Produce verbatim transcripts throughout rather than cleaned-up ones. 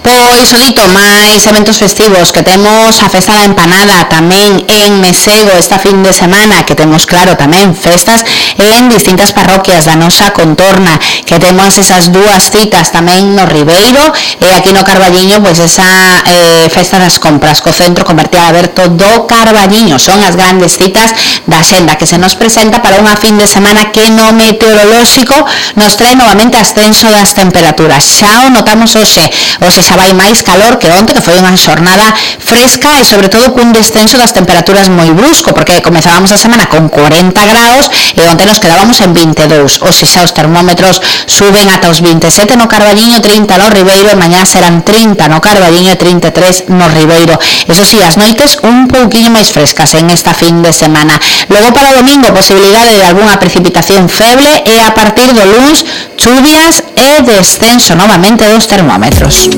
Pois o dito, máis eventos festivos que temos a Festa da Empanada tamén en Mesego esta fin de semana, que temos claro tamén festas en distintas parroquias da nosa contorna, que temos esas dúas citas tamén no Ribeiro e aquí no Carballiño, pois esa eh, festa das compras co centro comercial aberto do Carballiño. Son as grandes citas da xenda que se nos presenta para unha fin de semana que no meteorolóxico nos trae novamente ascenso das temperaturas. Xa o notamos hoxe, hoxe xa vai máis calor que onte, que foi unha xornada fresca e sobre todo cun descenso das temperaturas moi brusco, porque comezábamos a semana con corenta graus e onte nos quedábamos en vinte e dous. Hoxe xa os termómetros suben ata os vinte e sete no Carballiño, trinta no Ribeiro e mañá serán trinta no Carballiño e trinta e tres no Ribeiro. Eso sí, as noites un pouquiño máis frescas en esta fin de semana. Logo para o domingo, posibilidade de algunha precipitación feble e a partir do luns chuvias e descenso novamente dos termómetros.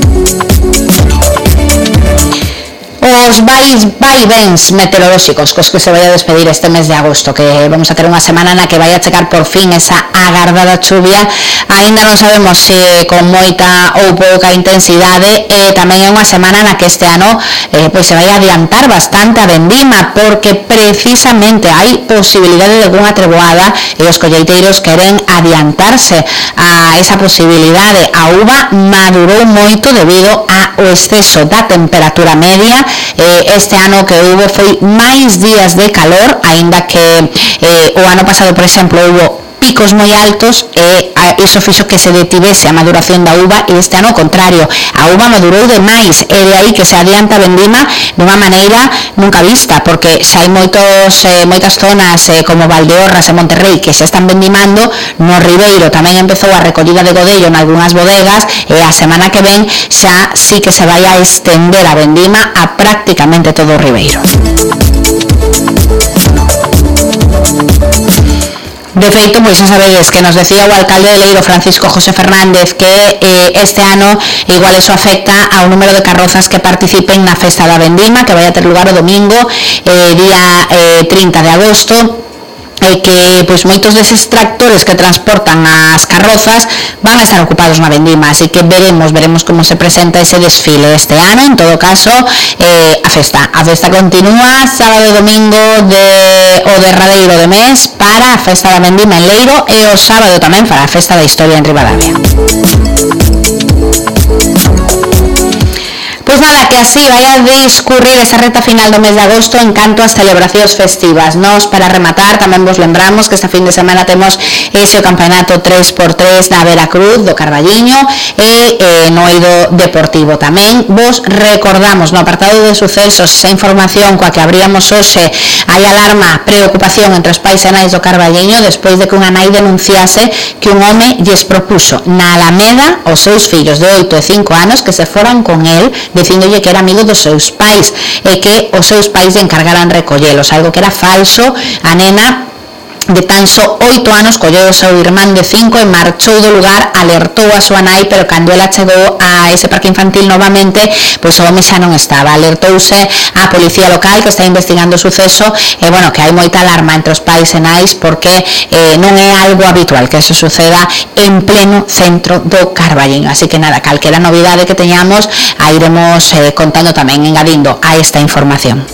Os vais vaivens meteorolóxicos cos que se vai a despedir este mes de agosto, que vamos a ter unha semana na que vai a chegar por fin esa agardada chuvia. Ainda non sabemos se con moita ou pouca intensidade, e tamén é unha semana na que este ano eh, pois se vai a adiantar bastante a vendima, porque precisamente hai posibilidade de algunha treboada e os colleiteiros queren adiantarse a esa posibilidade. A uva madurou moito debido ao exceso da temperatura media. Este ano que hubo foi máis días de calor, aínda que eh, o ano pasado, por exemplo, hubo picos moi altos e iso fixo que se detivese a maduración da uva, e este ano ao contrario, a uva madurou de máis, e de aí que se adianta a vendima dunha maneira nunca vista, porque xa hai moitos, eh, moitas zonas eh, como Valdeorras e Monterrey que xa están vendimando. No Ribeiro tamén empezou a recollida de godello en algunhas bodegas, e a semana que ven xa sí que se vai a estender a vendima a prácticamente todo o Ribeiro. De feito, pois xa sabedes que nos decía o alcalde de Leiro, Francisco José Fernández, que eh, este ano igual eso afecta ao número de carrozas que participen na festa da vendima, que vai a ter lugar o domingo, eh, día eh, trinta de agosto, e que pois moitos deses tractores que transportan as carrozas van a estar ocupados na vendima, así que veremos veremos como se presenta ese desfile este ano. En todo caso, eh, a festa a festa continúa sábado e domingo de o derradeiro de mes para a festa da vendima en Leiro, e o sábado tamén para a festa da historia en Ribadavia. Pois nada, que así vai a discurrir esa reta final do mes de agosto en canto ás celebracións festivas. Nos, para rematar, tamén vos lembramos que esta fin de semana temos ese o campeonato tres por tres da Veracruz, do Carballiño, e eh, no eido deportivo tamén. Vos recordamos no apartado de sucesos esa información coa que abríamos hoxe. Hai alarma, preocupación entre os pais e nais do Carballiño despois de que unha nai denunciase que un home lles propuso na Alameda os seus fillos de oito e cinco anos que se foran con el, dicíndolle que era amigo dos seus pais e que os seus pais encargaran recollelos, algo que era falso. A nena de tan só oito anos colleu o seu irmán de cinco e marchou do lugar, alertou a súa nai, pero cando ela chegou a ese parque infantil novamente, pois o home xa non estaba. Alertouse a policía local que está investigando o suceso, e bueno, que hai moita alarma entre os pais e nais porque eh, non é algo habitual que eso suceda en pleno centro do Carballiño. Así que nada, calquera novidade que teñamos a iremos eh, contando tamén, engadindo a esta información.